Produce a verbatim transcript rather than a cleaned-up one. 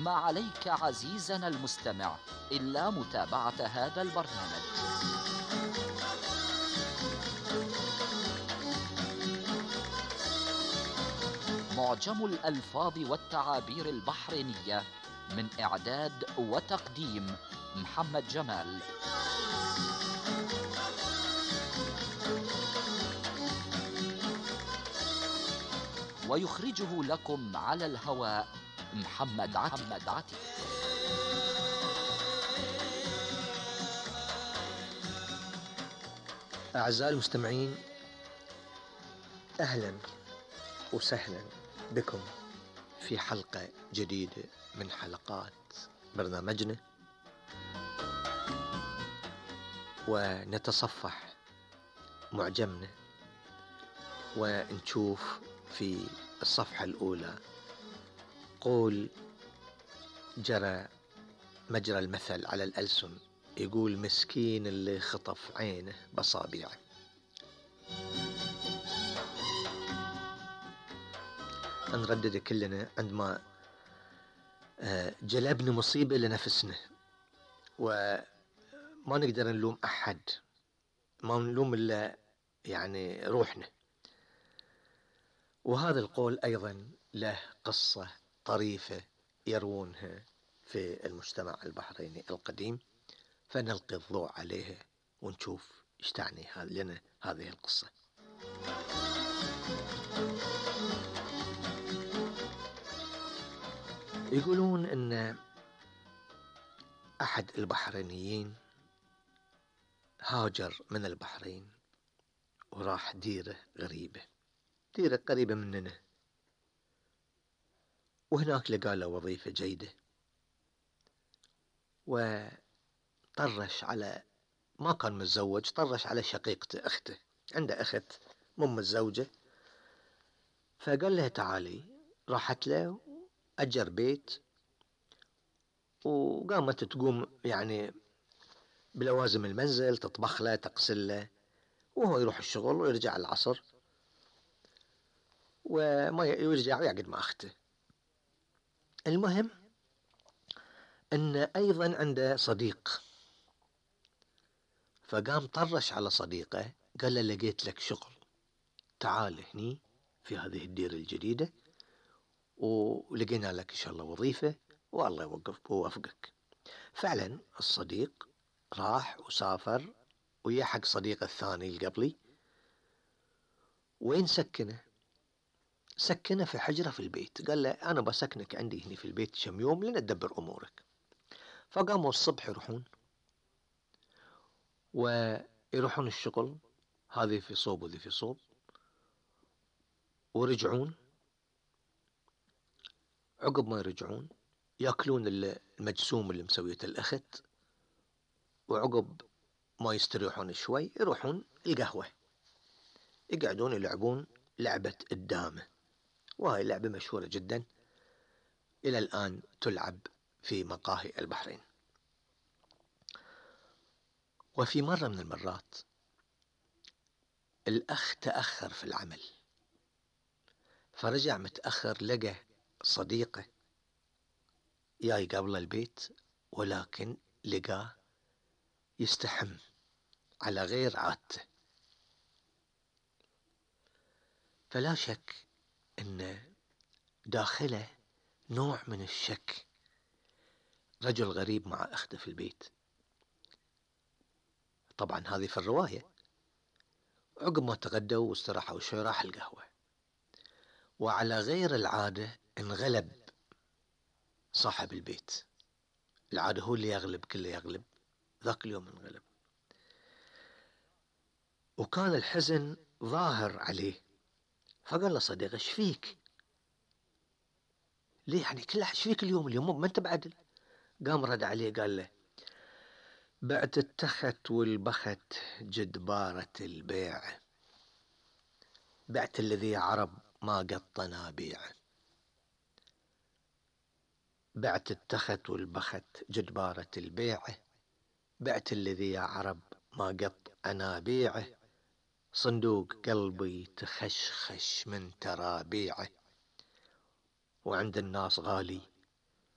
ما عليك عزيزنا المستمع إلا متابعة هذا البرنامج. معجم الألفاظ والتعابير البحرينية، من إعداد وتقديم محمد جمال. ويخرجه لكم على الهواء محمد عتيق. أعزائي المستمعين، أهلا وسهلا بكم في حلقة جديدة من حلقات برنامجنا، ونتصفح معجمنا ونشوف في الصفحة الأولى قول جرى مجرى المثل على الألسن، يقول مسكين اللي خطف عينه بصابيعه. نردد كلنا عندما جلبنا مصيبة لنفسنا، وما نقدر نلوم أحد، ما نلوم إلا يعني روحنا. وهذا القول أيضا له قصة طريفة يروونها في المجتمع البحريني القديم، فنلقي الضوء عليها ونشوف ايش تعني لنا هذه القصة. يقولون ان احد البحرينيين هاجر من البحرين وراح ديرة غريبة، ديرة قريبة مننا، وهناك لقى له وظيفة جيدة، وطرش على، ما كان متزوج، طرش على شقيقته أخته، عنده أخت مو متزوجة، فقال لها تعالي. راحت له، أجر بيت، وقامت تقوم يعني بلوازم المنزل، تطبخ له، تغسل له، وهو يروح الشغل ويرجع العصر وما يرجع ويقعد مع أخته. المهم أن أيضا عنده صديق، فقام طرش على صديقه، قال له لقيت لك شغل، تعال هني في هذه الديرة الجديدة، ولقينا لك إن شاء الله وظيفة، والله يوقف ووفقك. فعلا الصديق راح وسافر ويا حق صديقه الثاني القبلي. وين سكنه؟ سكنه في حجرة في البيت، قال له أنا بسكنك عندي هني في البيت كم يوم لندبر أمورك. فقاموا الصبح يروحون ويروحون الشغل، هذه في صوب وذي في صوب، ورجعون. عقب ما يرجعون يأكلون المجسوم اللي مسويته الأخت، وعقب ما يستريحون شوي يروحون القهوة، يقعدون يلعبون لعبة الدامة، وهي لعبة مشهورة جدا إلى الآن تلعب في مقاهي البحرين. وفي مرة من المرات الأخ تأخر في العمل، فرجع متأخر، لقى صديقه جاي قبل البيت، ولكن لقاه يستحم على غير عادته. فلا شك أن داخله نوع من الشك، رجل غريب مع أخته في البيت. طبعا هذه في الرواية. عقب ما تغدوا واستراحوا شوي راح القهوة، وعلى غير العادة انغلب صاحب البيت. العادة هو اللي يغلب، كله يغلب، ذاك اليوم انغلب، وكان الحزن ظاهر عليه. فقال له صديقه ايش فيك؟ ليه يعني كله ايش فيك اليوم؟ اليوم ما انت بعدل. قام رد عليه قال له بعت التخت والبخت جدبارة البيع، بعت الذي عرب ما قطنا بيع. بعت التخت والبخت جدبارة البيع، بعت الذي يا عرب ما قط أنا بيعه. صندوق قلبي تخشخش من ترابيعه، وعند الناس غالي